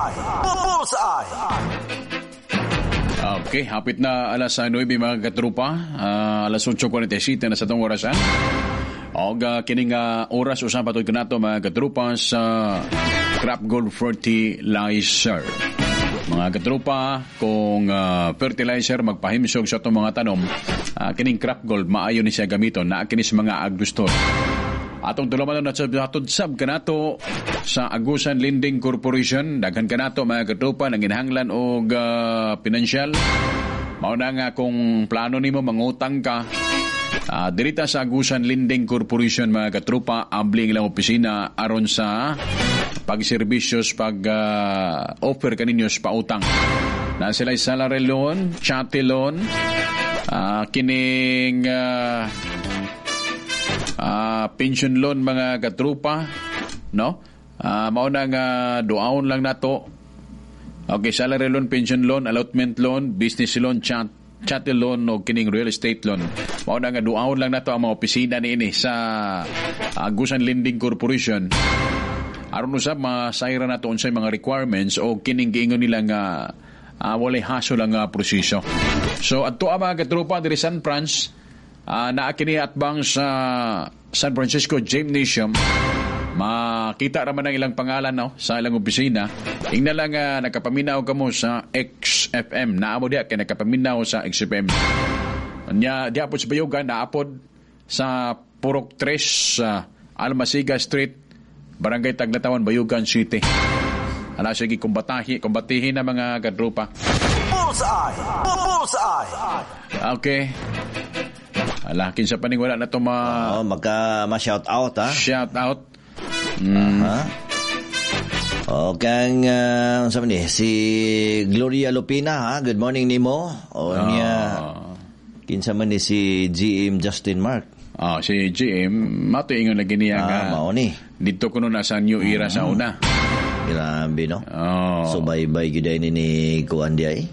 Bullseye. Bullseye. Okay, hapit na alas 9, mga katrupa, alas 8:47 na sa atong orasan. Og kining oras usab patud kanato, mga katrupa, sa Crop Gold Fertilizer. Mga katrupa, kung fertilizer magpahimsog sa atong mga tanom, kining Crop Gold maayo ni siya gamiton na kini sa mga agrostore. Atong tulumanon na hatod sab kanato sa Agusan Lending Corporation. Daghan kanato, mga katrupa, nanginahanglan og pinansyal. Mao na nga kung plano nimo mangutang ka, dirita sa Agusan Lending Corporation, mga katrupa, abli ang ilang opisina aron sa pagserbisyos, pag offer kaninyo sa pautang. Na sila salary loan, chattel loan, kining pension loan, mga katrupa, no? Mao na nga duaon lang nato. Okay, salary loan, pension loan, allotment loan, business loan, chattel loan o kining real estate loan. Mao na nga duaon lang nato ang mga opisina niini sa Agusan Lending Corporation. Aron usab masayra nato unsay mga requirements o kining giingon nila nga walay hassle ang proseso. So adto ang mga katropa diri San Franz, naa kini atbang sa San Francisco Gymnasium. Makita ra man ang ilang pangalan, no, sa ilang opisina. Ingna lang nakapaminaw kamo sa XFM. Naa mo diha kay nakapaminaw sa XFM. Nya diha pod sa Bayugan, naa pod sa Purok 3 sa Almasiga Street, Barangay Tagnatawan, Bayugan City. Ala, sige, kumbatahi, kumbatihin na, mga kadrupa. Bullseye. Bullseye. Okay. Ala, kinsa pa ning wala na to ma Oh, magka ma-shout out ha. Shout out. Ha? O kang unsa man ni si Gloria Lupina ha. Good morning nimo. O niya kinsa man ni si GM Justin Mark. Ah, si GM, mato ingon lagi niya nga mao ni. Dito kuno na sa New Era sa una. Grabe, no. Oh. Subaybay gyud ay ni kuan di ay.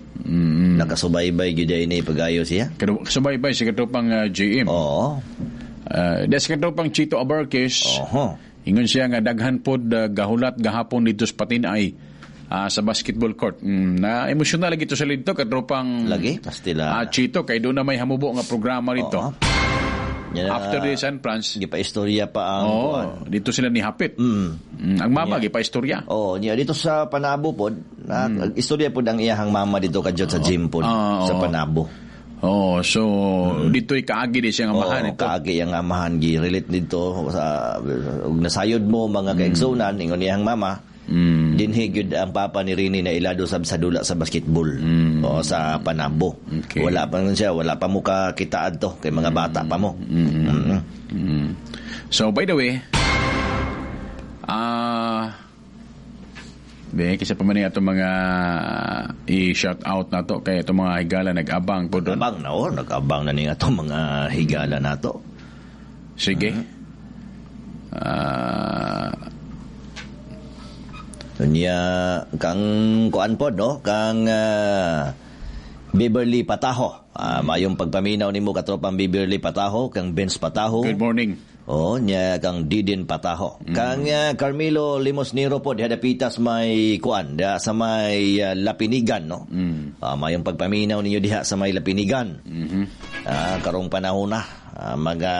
Nakasubaybay gyud ay ni pag-ayo siya. Pero subaybay si katropang GM. Oo. Des katropang Chito Abarquez. Oho. Ingon siya nga daghan pod gahulat gahapon dito sa Patinay sa basketball court. Na emosyonal lagi to sa dito katropang Lagi pastila. Chito, kay doon na may hamubo nga programa dito. Oo. Yan na- After the San Franz, Gipa-istorya pa ang oh, kuan. Dito sila ni Hapit. Ang mama gipa-istorya. Oh, niya dito sa Panabo pod, na istorya pod ang iyahang mama dito kadjot sa gym pod sa Panabo. Oh, so dito'y kaagi di siya nga amahan Oo, ito. Kaagi ang amahan gi relate dito sa ug nasayod mo, mga kaigsunan, ingon iyang mama. Dinhi gyud ang papa ni Rini na ilado sab sa dula sa basketball o sa Panabo. Wala pa nun siya, wala pa mo ka kita adto kay mga bata pa mo. So by the way, be kaysa pa man ni atong mga i-shout out na to kay atong mga higala nag-abang po doon. Abang na oh, nag-abang na ni atong mga higala nato. Sige. Unya kang kuan pod, no, kang Beverly Pataho. Mayong pagpaminaw nimo, katropang Beverly Pataho, kang Vince Pataho. Good morning. Oh, nya kang Didin Pataho. Kang Carmelo Limos Nero po diha dapitas may kuan, diha sa may Lapinigan, no. Mayong pagpaminaw ninyo diha sa may Lapinigan. Karong panahon na mga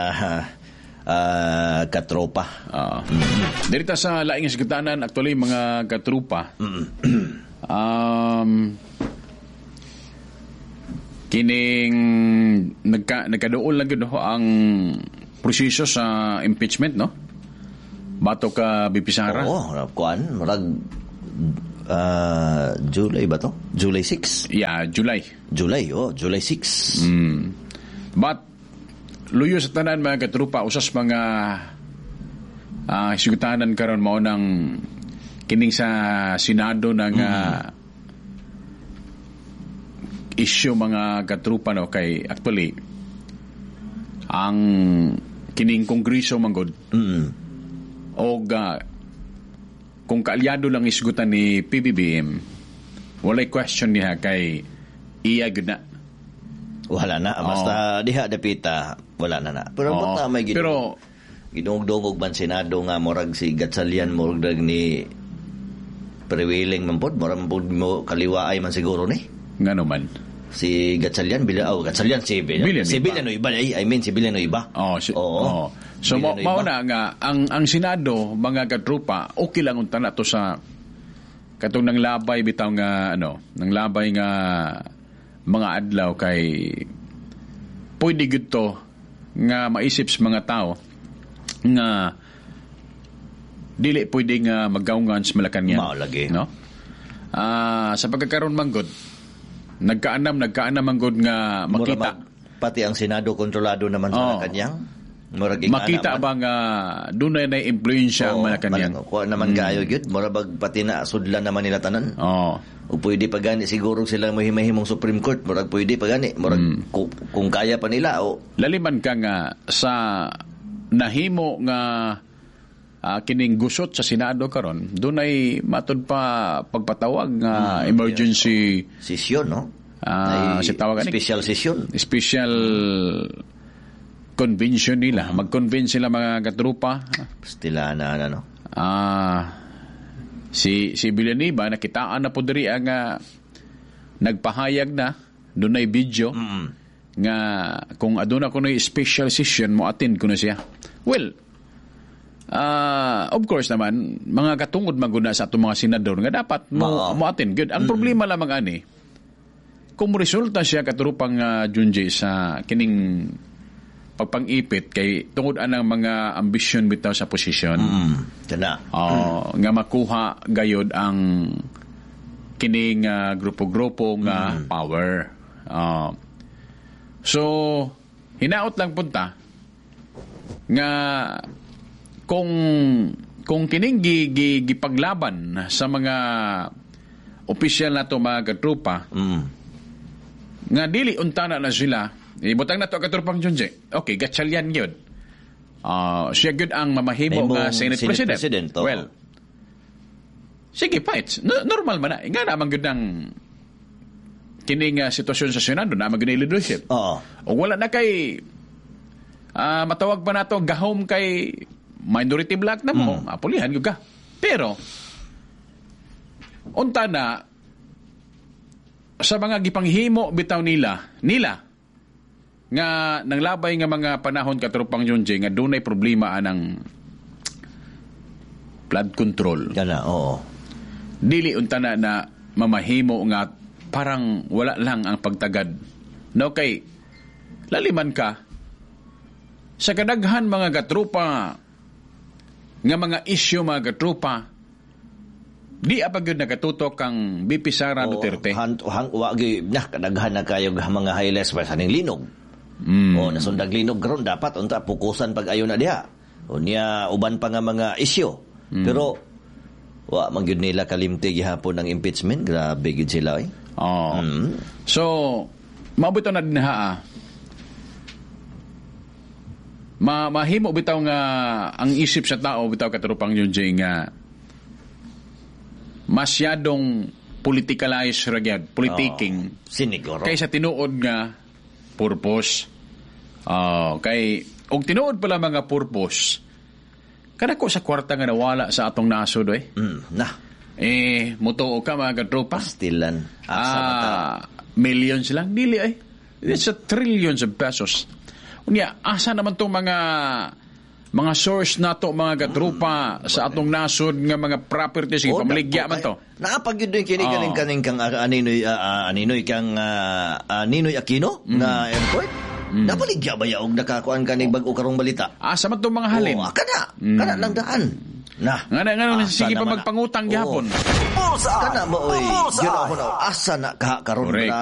katropa. Dirita sa laing sugtanan actually, mga katrupa. Kining nagkaduol lang gyud ho ang proseso sa impeachment, no? Bato ka VP Sara. Oo, kuan, murag July ba to? July 6. Yeah, July. July, oh, July 6. But luyo sa tanan, mga katrupa, usas mga sugtanan karon mao nang kining sa Senado ng issue, mga katrupa, no, kay actually ang kining kongreso manggod og kung kaalyado lang isgutan ni PBBM, walay question niya kay iya gyud na. Wala na basta diha dapita wala na na. Pero basta may Pero gidungog-dungog man Senado nga murag si Gatchalian murag ni Pero willing man pod, mura man pod mo kaliwaay man siguro ni. Ngano man? Si Gatchalian, bila, oh, Gatchalian, si Villanueva. Si Villanueva, ay, I mean, si Villanueva. Oh, si, Oo. oh. So mo Villanueva. mao na nga ang Senado, mga katrupa, okay lang unta na to sa katong nang labay bitaw nga ano, nang labay nga mga adlaw kay pwede gyud to nga maisip sa mga tao nga dili pwede nga magawngan sa Malacanang. Mao lagi. No? Ah, sa pagkakaroon man gud, nagkaanam man gud nga Mura makita pati ang Senado kontrolado naman sa Oo. Malacanang. Murag ingana Makita man. ba nga dunay na impluwensya ang Oo, Malacanang? Kuha naman kaayo gyud, mura bag pati na sudlan naman nila tanan. O pwede pa gani siguro sila mahimahimong Supreme Court, murag pwede pa gani, murag kung kaya pa nila o Laliman ka nga sa nahimo nga kining gusot sa Senado karon, dunay matud pa pagpatawag nga emergency session, no? Ah, Ay, si tawag ani? Special session. Special convention nila. Mag-convince sila, mga katrupa. Stila na ano. Ah, si si Villanueva nakitaan na po diri ang nagpahayag na, dunay video nga kung aduna kunoy special session, mo attend kuno siya. Well, of course naman mga katungod maguna sa atong mga senador nga dapat mo Oo. mo attend good. Ang problema lamang ani kung resulta siya, katrupang Junji, sa kining pagpang-ipit kay tungod anang mga ambisyon bitaw sa posisyon. Kana. Oh, nga makuha gayod ang kining grupo-grupo nga power. Oh. So hinaot lang punta nga kung kining gipaglaban sa mga opisyal nato, mga katrupa, nga dili untana na sila ibutang nato, katrupang Junji. Okay, Gatchalian gyud. Ah, siya gyud ang mamahimo Mahimong nga Senate, Senate President. President, oo. Well, sige, fights. No, normal man na. Nga naman gyud ang kining sitwasyon sa Senado na man gyud ang leadership. O wala na kay matawag pa nato gahom kay minority bloc na mo, apulihan gyud ka. Pero unta na sa mga gipanghimo bitaw nila nila nga nanglabay nga mga panahon, katrupang Junji, nga dunay problema anang flood control. Kana, oo. Dili unta na na mamahimo nga parang wala lang ang pagtagad. No, kay laliman ka sa kadaghan, mga katrupa, nga mga isyu, mga katrupa, di apa gyud nakatutok ang VP Sara Oo, Duterte. Han, hang, wa gyud na kadaghan na kayo mga highlights pa sa ning linog. O nasundag linog karon, dapat unta pukusan pag ayo na diha. O niya uban pa nga mga isyu. Pero wa man gyud nila kalimti gihapon ang impeachment. Grabe gyud sila eh. Oh. So, mao bitaw na dinha ah. Mahimo bitaw nga ang isip sa tao bitaw, katrupang Junji, nga masyadong politicalize ra gyud, politicking. Oh, siniguro. Kaysa tinuod nga purpose. Oh, kay og tinuod pala mga purpose, kadako sa kwarta nga nawala sa atong nasod eh. Na. Eh, mutuo ka, mga katropa. Pastilan. Asa mata. Ah, millions lang dili ay. It's a trillions of pesos. Unya, asa naman tong mga source nato, mga katrupa, sa atong nasod nga mga properties oh, pamaligya man to. Naapag yun din kini Oo. kaning kaning kang aninoy kang Ninoy Aquino nga airport. Napaligya ba ya og nakakuan kaning bag-o karong balita? Asa man tong mga halin? Oh, kana. Kana lang daan. Na. Nga na, nga na, Asa sige pa naman na. magpangutang Oo. gihapon. Bullseye! Kana mo oy. Bullseye! Yun ako na asa na ka karon Correct. na.